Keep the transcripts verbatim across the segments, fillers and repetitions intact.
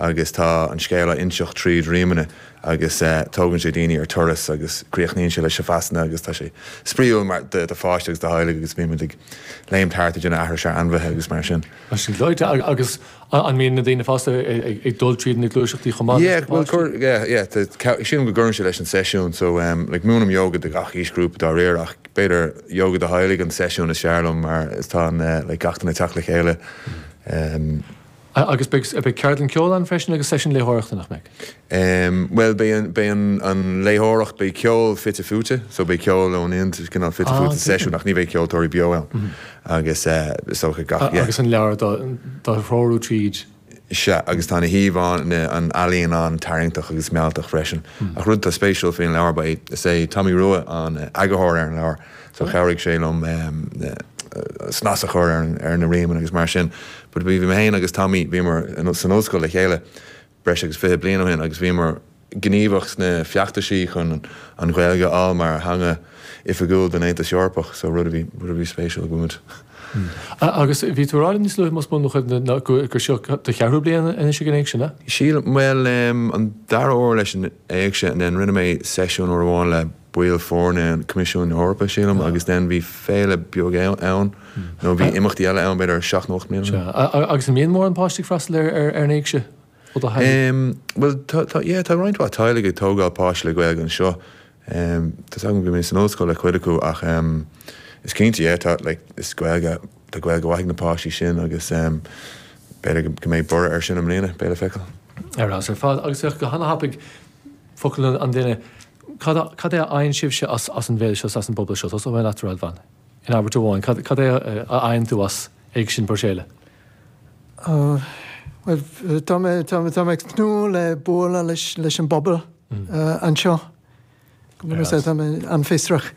Agus tá an scéal á inseacht tríd rímeanna agus uh, tógann sé daoine ar turas agus críochnaíonn sé le Shavasana agus tá sé spraíúil mar do do pháiste agus do theaghlaigh agus bímid ag léim thart ag déanamh aithris ar ainmhithe agus mar sin. Sin gleoite agus an mbíonn na daoine fásta ag dul tríd na gluaiseachtaí chomh maith? Yeah, well, cur, yeah, yeah, sílim go gcuireann sé leis an seisiún, so um, like, múinim yoga do gach aoisghrúpa dáiríre ach b'fhéidir yoga do theaghlaigh an seisiún is fearr liom mar is tá an uh, like, gach duine ag teacht le chéile. Um, Agus beidh ceardlann ceoil ann freisin agus seisiún léitheoireachta nach mbeidh? Um, well beidh an, an léitheoireacht beidh ceol fite fuaite, so beidh ceol ón ind cineál fite fuaite seisiún ach ní bheidh ceoltóirí beo ann. Mm -hmm. agus uh, so gach, yeah. Agus an leabhar dá threorú tríd. Sea agus tá na híomhánna an ealaín an-tarraingteach agus mealltach freisin. Mm. Ach rud atá spéisiúil faoin leabhar ba is é Tommy Rua an eagarthóir ar an leabhar, so chabhraigh sé liom um, snas a chur ar, ar na rímeanna agus mar sin. But bhí mé féin agus Tommy bhíomar san ollscoil le chéile breis agus fiche bliain ó shin agus bhíomar gníomhach sna feachtaisí chun an Ghaeilge a fháil mar theanga oifigiúil den Aontas Eorpach, so rud a bhí rud a bhí spéisiúil go Hmm. Agus bhí tú ag rá níos luaithe más buan gur seo do cheathrú bliain anois ag an éigse? Sílim well um, an dara huair leis an éigse and then rinne mé seisiún uair amháin le baill foirne an Coimisiún Eorpach sílim agus then bhí féile beag ann nó bhí imeachtaí eile ann b'fhéidir seacht nó ocht mbliana. Agus an mbíonn mórán páistí ag freastal ar ar an éigse? Well tá tá roinnt mhaith teaghlaigh ag tógáil páiste le Gaeilge anseo. Tá agam go mé san ollscoil le cuid acu ach um, is cinnte é tá like, is Gaeilge tá Gaeilge mhaith ag na páistí sin agus um, b'fhéidir go mbeidh borradh ar sin i mbliana beidh le feiceáil. Ar ar fad agus go han-thapaidh focal an duine cad cad é a fhaigheann sibhse as as an bhféile seo as an bpobal seo Tosóidh mé leat Radvan. In abairt amháin cad cad é a fhaigheann tú as Éigse na Bruiséile. Uh, well, tá mé tá mé tá mé ag tnúth le bualadh leis leis an bpobal uh, anseo. Tá mé an-fhiosrach.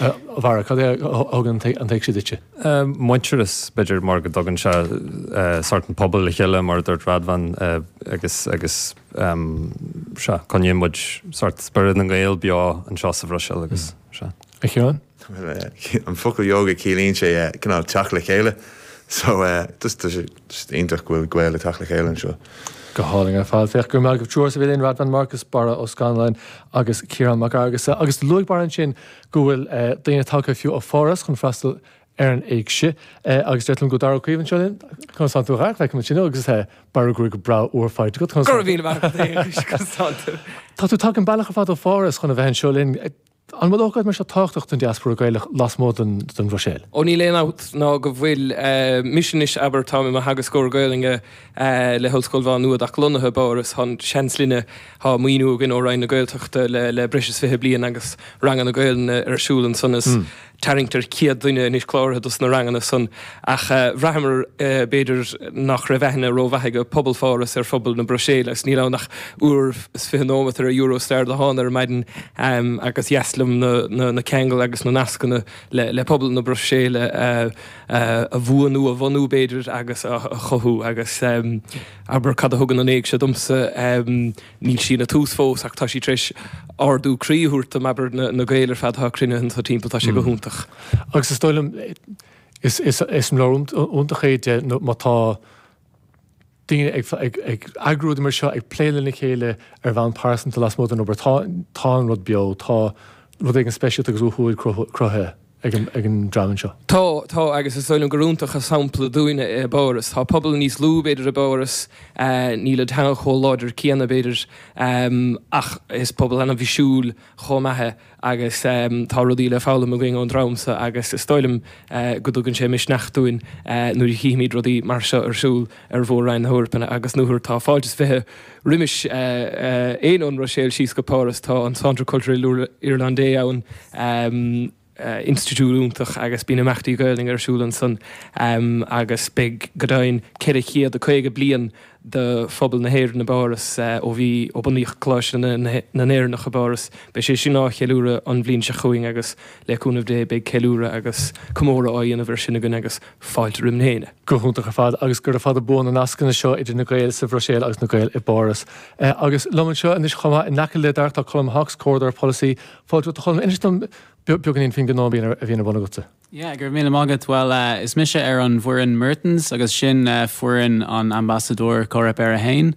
Bharra cad é a thugann an t-éigse duitse. Muintearas b'fhéidir mar go dtugann sé sórt an pobal le chéile mar dúirt Radvan agus agus sea coinníonn muid sórt spiorad na nGael beo anseo sa Bhruiséil agus sea. A Chiaráin? An focal yoga ciallaíonn sé cineál teacht le chéile. So just just iontach go bhfuil Gaeil ag teacht le chéile anseo. Go hálainn ar fad féach go mbeidh triúr sa bhíonn Radvan Marcus Barra Ó Scanláin agus Ciarán Mac Fhearghusa agus luaigh Barra ansin go bhfuil daoine tagtha fiú ó Pháras chun freastal ar an éigse agus deir go Dara Caoimh anseo linn conas tánn tú a Dhara sin agus Barra go breá úr fáilte go Go raibh míle Tá tú tagtha an bealach ar fad ó Pháras chun a bheith anseo linn. An bhfuil ócáid mar seo tábhachtach don diaspora Gaelach lasmuigh den den Bhruiséil? Ó níl aon amhras ná go bhfuil mise anois abair táim i mo theagascóir Gaelainne le hOllscoil Mhá Nuad ach lonnaithe i bPáras tá seans linne tá maoiniú againn ó Roinn na Gaeltachta le le breis is fiche bliain agus ranganna Gaelainne ar siúl ansan is tarraingtear céad duine anois cláraithe dos na ranganna san ach bhraitheamar b'fhéidir nach raibh aithne rómhaith ag pobal Pháras ar phobal na Bruiséile agus níl ann ach uair is fiche nóiméad ar Eurostar le hán ar maidin agus dheas liom na, na, na ceangail agus na nascanna le, le pobal na Bruiséile a, a bhuanú a bhunú b'fhéidir agus a, a chothú agus um, abair cad a thugann an éigse domsa um, níl sí ina tús fós ach tá sí tar éis ardú croí a thabhairt dom abair na, na Gaeil ar fad atá cruinnithe anseo timpeall tá sé go hiontach. Agus is dóigh liom is is is leor iontach é de má tá daoine ag ag ag eagrú mar seo ag plé lena chéile ar bhonn pearsanta lasmuigh den obair tá tá an rud beo tá rud éigin speisialta agus uathúil cruthaithe ag an ag an dream seo. Tá tá agus is dóigh liom gur iontach an sampla dúinne i bPáras. Tá pobal níos lú b'fhéidir i bPáras níl an teanga chomh láidir céanna b'fhéidir ach is pobal an-bhisiúil chomh maith agus tá rudaí le foghlaim againn ón dream seo agus is dóigh liom go dtugann sé misneach dúinn nuair a chímid rudaí mar seo ar siúl ar mhór-roinn na hEorpa agus nuair tá fáilte is fiche roimis aon ón mBruiséil síos go Páras tá an Centre Culturel Irlandais ann institiúid iontach agus bíonn imeachtaí Gaelainne ar siúl ansan agus beidh go deimhin ceithre chéad a caoga bliain de phobal na hÉireann i bPáras ó bhí ó bunaíodh Coláiste na nÉireannach i bPáras. Beidh sé sin á cheiliúradh an bhliain seo chugainn agus le cúnamh Dé beidh ceiliúradh agus comóradh á dhéanamh ar sin againn agus fáilte roimh na héinne. Go hiontach ar fad agus gura fada buan na nascanna seo idir na Gaeil sa Bhruiséil agus na Gaeil i bPáras. Agus liom anseo anois chomh maith in aice le Dara tá Colm Hawkes, Comhordaitheoir Polasaí. Fáilte romhat a Cholm, inis dom beagáinín faoin ngnó a bhíonn ar bun agatsa. Yeah, go raibh míle maith agat. Well, uh, is mise ar an bhfoireann Mertens agus sin uh, foireann an ambasadóir Coreper a haon.